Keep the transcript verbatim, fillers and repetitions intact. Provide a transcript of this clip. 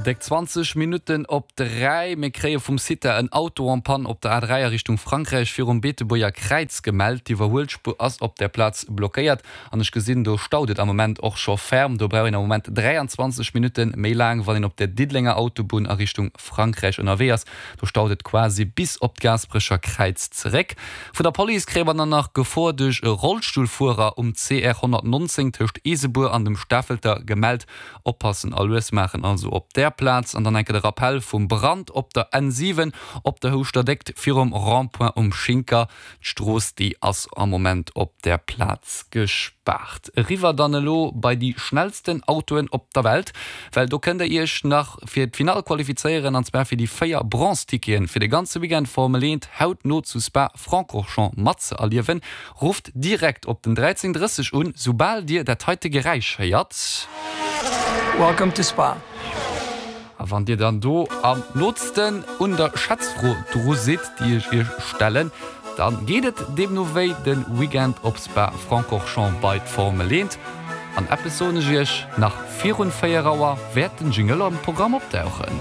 Déck zwanzeg Minutten op dräi. Mir kréie vum CITA en Auto en panne op der A dräi a Richtung Frankräich virum Beetebuerger Kräiz gemellt. D'Iwwerhuelspuer ass op där Plaz blockéiert an ech gesinn, do staut et am Moment och scho ferm. Do brauch een am Moment dräianzwanzeg Minutte méi laang, wann een op der Diddelenger Autobunn a Richtung Frankräich ënnerwee ass. Do staut et quasi bis op d'Gaasperecher Kräiz zeréck. Vun der Police kréie mer dann nach Gefor duerch e Rollstullfuerer um C R honnertnonzéng tëscht Eesebuer an dem Stafelter gemellt. Oppassen a lues maachen also op där Plaz. An dann enke de Rappell vum Brand op der N siwen op der Houschter Déckt virum Rond-point um Schinker. D'Strooss déi ass am Moment op där Plaz gespaart. Eriwwer dann elo bei déi schnellsten Autoen op der Welt, well do kënnt der iech nach fir d'Finall qualifizéieren an zwar fir déi véier Bronze-Ticketen fir de ganze Weekend Formel eent hautno zu Spa-Francorchamps matzëerliewen. Rufft direkt op den dräizéng drësseg un, soubal dir dat heite Geräisch héiert. Welcome to Spa. A wann dir dann do am nootsten un der Schätzfro dru sidd, déi ech iech stellen, da geet et deemno wéi de Weekend op Spa-Francorchamps bei d'Formel eent. An eppes soen ech iech, nach virun véier Auer wäert den Jingle am Programm opdauchen.